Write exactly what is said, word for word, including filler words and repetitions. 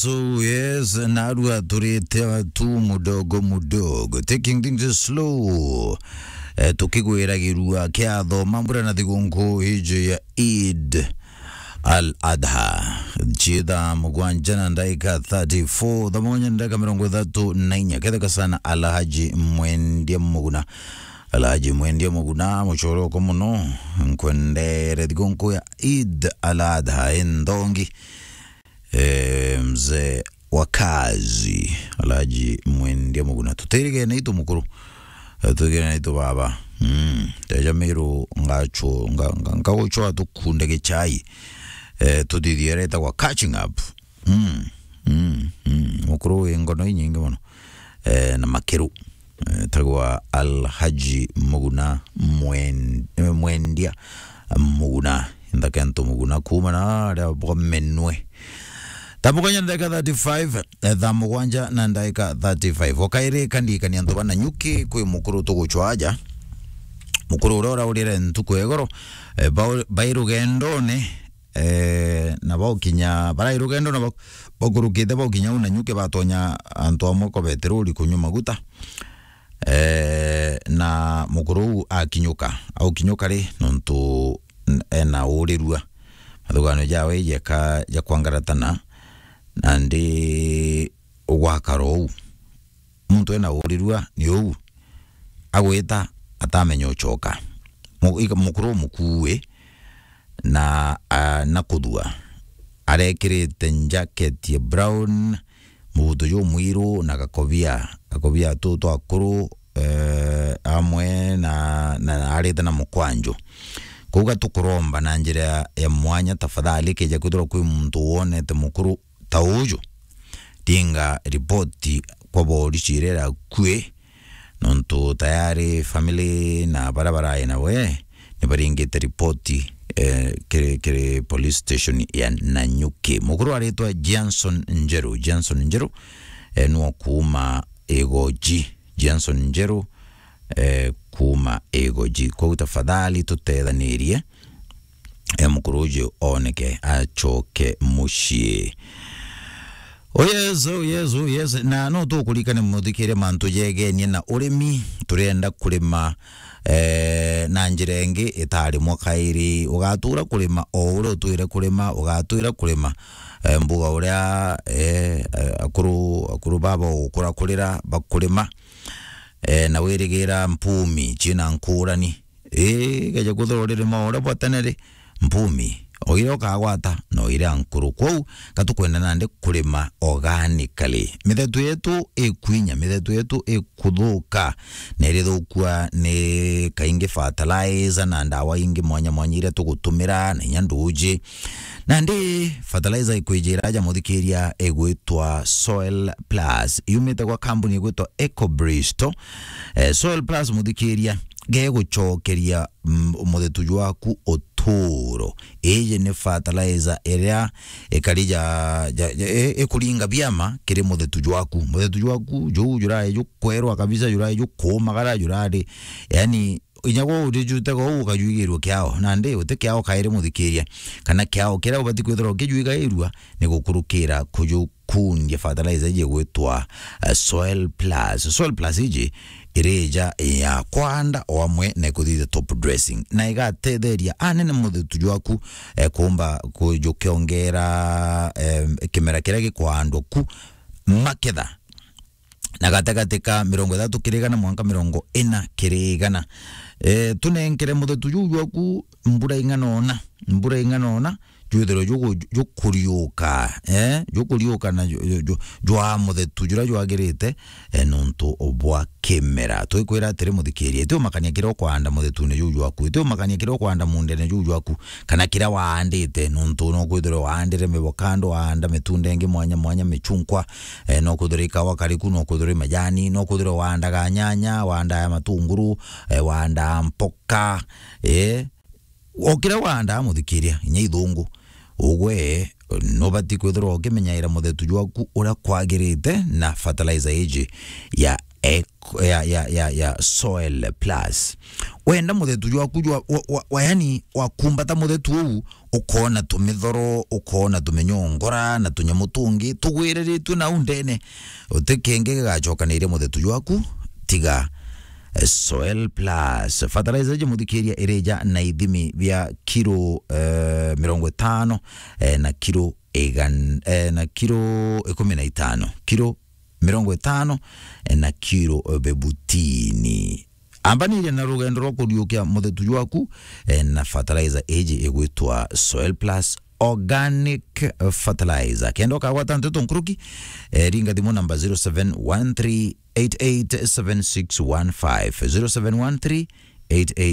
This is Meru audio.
So yes, narua turite tu mudogo mudogo, taking things slow. Eh, tukigwiragirua kiatho mambura na thigunku iji ya Eid al-Adha. Chitha mugwanja na ndaika thirty-four, thaa mugwanja na ndaika mirongo ithatu na inya. Ketheka sana Alhaji Mwendia Muguna. Alhaji Mwendia Muguna, muchoroko muno. Nkwendere thigunku ya Eid al-Adha, enthongi. Eh, mzee wa kazi, Alhaji Mwendia Muguna. Tutirigene itu mukuru. Eh, tutirigene itu baba. Mm. Teja miru ngachu-, nga-, nga-, ngaguchwa tukunde gichai. Eh, tuthithie iria itagwa catching up. Mm. Mm. Mm. Mukuru wi ngono inyingi muno. Eh, na makiru. Eh, tagwa Alhaji Muguna Mwen-, eh, Mwendia Muguna. Nthaka ntu Muguna kuuma na aria bwa Menwe. Thaa mugwanja na ndaika thirty-five, eh, thaa mugwanja na ndaika thirty-five. Okairi kandikania antu ba Nanyuki kwi mukuru tuguchwa aja. Mukuru uria uraurire ntuku ya igoro, eh, bau-, bai rugendone, eh, na baukinya, barai rugendo na bau-, bakurukite baukinya u Nanyuki batonya antu amwe kwa beteroli kunywa maguta. Eh, na mukuru uu akinyuka, aukinyuka ri, nontu n-, ena urirua. Mathugano jawe jeka ja kwangaratana, nandi ugwakara uu. Muntu ena urirua ni uu, agwita atamenya uchoka. Mu-, ika-, mukuru umukuui na, a, na kuthua. Arekirite jacket ya brown, mubuto jumwiru na gakobia, gakobia tu twakuru, eh, amwe na, na arite na mukwanju. Kuuga tukuromba na njira ya mwanya, tafadhali, keja kwithirwa kwi muntu wonete mukuru ta uju, ringa ripoti kwa borisi iria irakui, nontu tayari family na baria barai nawe ni baringite ripoti, eh, kiri, kiri police station ya Nanyuki. Mukuru aritwa Johnson Njeru. Johnson Njeru, eh, nwo kuuma Igoji. Johnson Njeru, eh, kuuma Igoji. Kwou tafadhali tutethanirie, eh, mukuru uju oneke, achoke mucii. Oh yes, oh yes, oh yes. Na no tukurikane muthikiria mantu jegenie na urimi. Turienda kurima, eh, na njira ingi itari mwa kairi. Ugatura kurima o uria utwire kurima, ugatura kurima, eh, mbuga uria, eh, eh, akuru, akuru baba ugukura kurira bakurima. Eh, na wirigira mpumi ciina nkurani. Ii, geja kwithirwa uririma uria bwa tene ri, mpumi, o iria ukagwata, no iria nkuru. Kwou, gatukwenda nandi kurima organically. Mithetu yetu ikwinya, mithetu yetu ikuthuka, na irithukua ni kaingi fertilizer na ndawa ingi mwanya mwanya iria tugutumira, na inya nduji. Nandi fertilizer ikwijira aja muthikiria igwitwa Soil Plus. Yumite gwa kambuni igwitwa Eco Bristol. Eh, Soil Plus muthikiria, gegucokeria, mm, muthetu jwaku uturo. Iji ni fertilizer iria ikari ja, ja, ja, i-, ikuringa biama kiri muthetu jwaku. Muthetu jwaku, juu jurai jukwerwa kabisa, jurai jukuumagara, jurari, yani, inya gwe urijutega uu ukajwigirua kiao, nandi uti kiao kairi muthikiria, kana kiao kiria ubati kwithirwa ukijwigairua ni gukurukira kujukundia fertilizer iji igwitwa, eh, Soil Plus. Soil Plus iji irija ya kwanda o amwe na ikuthithia top dressing, na igatetheria anene muthetu jwaku, eh, kuumba kujukiongera, eh, kimera kiria gikwaandwa ku maketha na gatagati ka mirongo ithatu kiri igana mwanka mirongo ina kiri igana. Eh, tunenkere muthetu juu jwaku mbura ing'ana ona, mbura ing'ana ona, jwithirwe jugu-, jukuriuka, eh, jukuriuka na ju-, ju-, ju-, jwa muthetu juria jwagirite, eh, nontu bwa kimera. Twikwira atiri, muthikiria, iti umakania kiria ukwanda muthetune juu jwaku, iti umakania kiria ukwanda mundene juu jwaku, kana kiria waandite, nontu no kwithirwa waandire mibokando, waanda mitunda ingi mwanya mwanya, michunkwa, eh, no kwithirwa ikawa kariku, no kwithirwa majani, no kwithirwa waandaga nyanya, waandaa matunguru, eh, waandaa mpoka, eh, o kiria waandaa, muthikiria, inya ithungu, ugwe nubati kwithirwa ukimenyaira muthetu jwaku uria kwagirite na fertilizer iji ya ec-, ya, ya, ya, ya Soil Plus. Wenda muthetu jwaku jwa, wa, wa, wa, yani, wakumbata muthetu uu, ukoona tumithoro, ukoona tuminyongora na tunyamu tungi tugwiriritue nau ndene, uti kingi gigacokanairia muthetu jwaku tiga, eh, Soil Plus. Fertilizer iji, muthikiria, irija na ithimi bia kiro, eh, mirongo itano, eh, na kiro igan-, eh, na kiro ikumi na itano, kiro mirongo itano, eh, na kiro bebutini. Ambaniria na rugendo rwa kuriukia muthetu jwaku, eh, na fertilizer iji igwitwa Soil Plus Organic Fertilizer. Kenda ukagwata nteto nkuruki, eh, ringa thimu namba zero seven one three eight eight seven six one five, zero seven one three eight eight